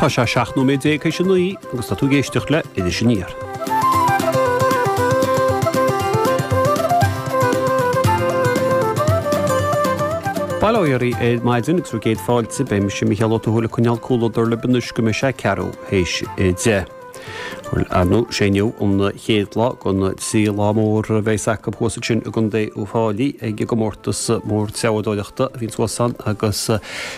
Tá sé 17 nóiméad théis a 9 agus tá tú ag éisteacht le Iris Aniar. Bail ó Dhia oraibh ar maidin agus bhur gcéad fáilte. Beidh mise Mícheál Ó Tuathail ag coinneáil comhluadar libh anois go mbeidh sé ceathrú théis 10. Bhuel, ar ndóigh, sé inniu an chéad lá den trí lá mór a bheas acu thuas ansin i gContae Uíbh Fhailí ag an gcomórtas mór treabhadóireachta a bhíonn thuas ann agus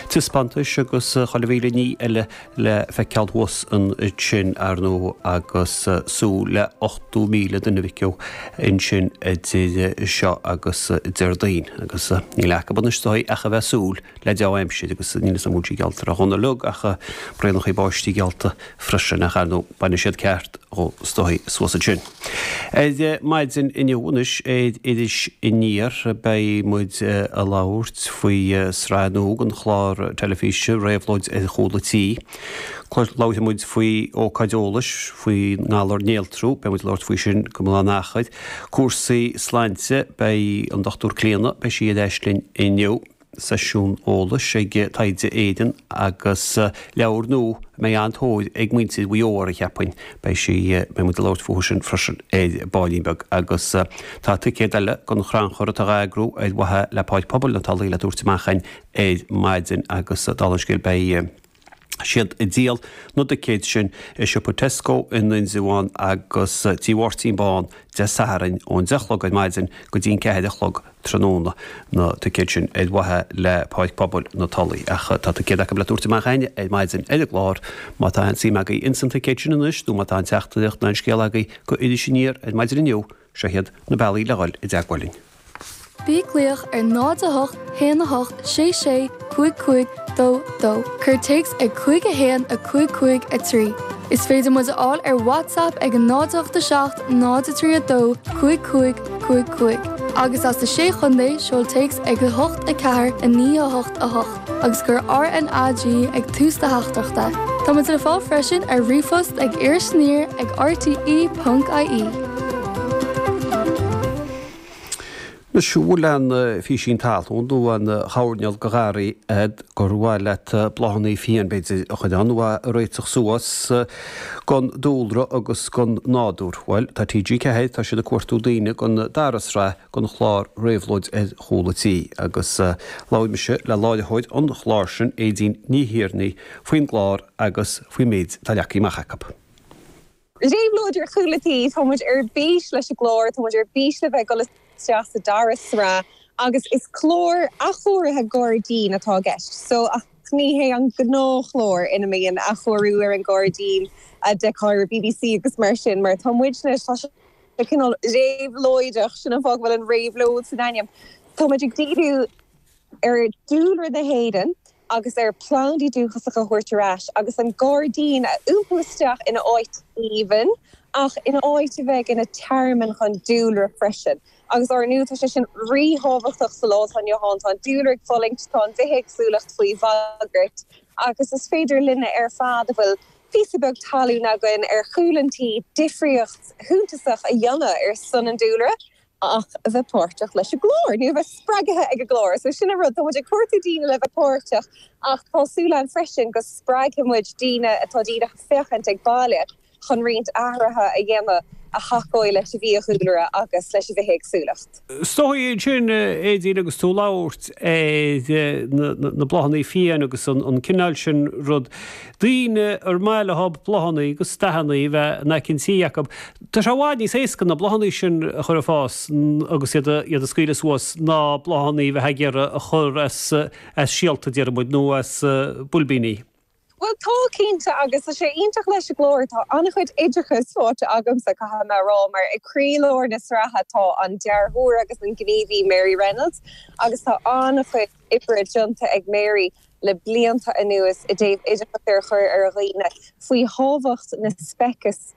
taispeántais agus chuile mhíle ní eile le feiceáil thuas ansin, ar ndóigh, agus súil le 80,000 duine a bheith ansin idir seo agus Déardaoin. Agus níl acu anois is dóigh ach a bheith ag súil le deá-aimsir agus níl 'fhios a'm an bhfuil sí geallta tráthnóna uilig ach braonachaí báistí geallta freisin ach ar ndóigh bainfidh siad ceart dhó is dóigh suas ansin. Ar maidin inniu anois ar Iris Aniar beidh muid ag labhairt faoi sraith nua den chlár teilifíse Réabhlóid ar Chúl an Tí. Labharfaidh muid faoi ócáid eolais faoin ngalar néaltrú, beidh muid ag labhairt faoi sin go mion in achar. Cúrsaí sláinte, beidh an Dr Clíona, beidh sí ar ais linn inniu. seisiún eolais ag Taighde Éireann agus leabhar nua a mbeidh an-tóir ag muintir Mhaigh Eo air, cheapfainn. Beidh sí, beidh muid ag labhairt fúthu sin freisin ar baillín beag. Agus tá ticéad eile don chrannchur atá á eagrú ar mhaithe le Páirc Pobail na Tulaí le tabhairt amach againn ar maidin agus dála an scéil beidh siad ag díol na dticéad sin i siopa Tesco in Indreabhán agus Tigh Mháirtín Bán Dé Sathairn ón 10 a chlog ar maidin go dtí an 4 a chlog tráthnóna, na ticéid sin ar mhaithe le Páirc Pobail na Tulaí. Ach tá ticéad acu le tabhairt amach againn ar maidin ar an gclár. Má tá aon suim agaibh ins an ticéad sin anois nó má tá aon teachtaireacht nó aon scéal agaibh go Iris Aniar ar maidin inniu, Seo iad na bealaí le dhul i dteagmháil linn. Bí ag glaoch ar 0 8 1 8 6 6 5 5 2 2. Cuir téacs ag 5 1 5 5 3. Is féidir muid a fháil ar WhatsApp ag 0 8 7 0 3 2 5 5 5 5. Agus as na Sé Chontae, seol téacs ag 8 4 9 8 8. agus cuir RnaG ag tús do theachtaireachta. Tá muid le fáil freisin ar ríomhphost ag irisaniar ag rte ponc ie. Anois, an bhfuil aon phísín talún nó aon choirnéal de gharraí agat gur mhaith leat bláthanna fiáin, b'fhéidir, a chur ann nó a réiteach suas don dúlra agus don nádúr? Bhuel, tá TG4, tá siad ag cuartú daoine don dara sraith den chlár Réabhlóid ar Chúl an Tí agus labhair mise le láithreoir an chláir sin, Aedín Ní Thiarnaigh, faoin gclár agus faoin méid atá leagtha amach acu. Réabhlóid ar Chúl an Tí, tá muid ar bís leis an gclár, tá muid ar bís le bheith ag dul isteach sa dara sraith agus is clár athchóirithe gairdín atá i gceist so ach ní hé an gnáthchlár ina mbíonn athchóiriú ar an ngairdín a d'fheicfeá ar BBC agus mar sin mar tá muidne, tá sé cineál réabhlóideach, sin an fáth go bhfuil an réabhlóid san ainm. Tá muid ag díriú ar dúlra na hÉireann agus ar plandaí dúchasacha a thabhairt ar ais agus an gairdín a iompú isteach ina áit aoibhinn ach ina áit a bheidh ina tearmann chun dúlra freisin. Agus ár ndóigh tá sé sin ríthábhachtach sa lá atá inniu ann, tá an dúlra ag fulaingt, tá an bhithéagsúlacht faoi bhagairt agus is féidir linne ar fad a bhfuil píosa beag talún againn ar chúl an tí, difríocht shuntasach a dhéanamh ar son an dúlra ach a bheith páirteach leis an gclár, nó a bheith spreagtha ag an gclár. So sin an rud, tá muid ag cuartú daoine le bheith páirteach ach tá súil againn freisin go spreagfaidh muid daoine atá díreach ag féachaint ag baile chun roinnt athruithe a dhéanamh a thacóidh leis an bhfiadhúlra agus leis an bhithéagsúlacht. Is dóigh ansin, Aedín, agus tú ag labhairt ar na bláthanna fiáin agus an cineál sin rud, daoine ar maith leo bláthanna agus dathanna a bheith in aice an tí acu, tá sé i bhfad níos éasca na bláthanna sin a chur ag fás agus iad a scaoileadh suas ná bláthanna a bheith ag iarraidh a chur as síolta, déarfaidh muid, nó as boilbíní. Bhuel tá, cinnte, agus tá sé iontach leis an gclár, tá an-chuid oideachais faighte agamsa, caithfidh mé a rá, mar ag croílár na sraithe tá an dearthóir agus an gníomhaí Mary Reynolds agus tá an-chuid oibre déanta ag Mary le blianta anuas i dtaobh oideachas a chur ar dhaoine faoi thábhacht na speiceas.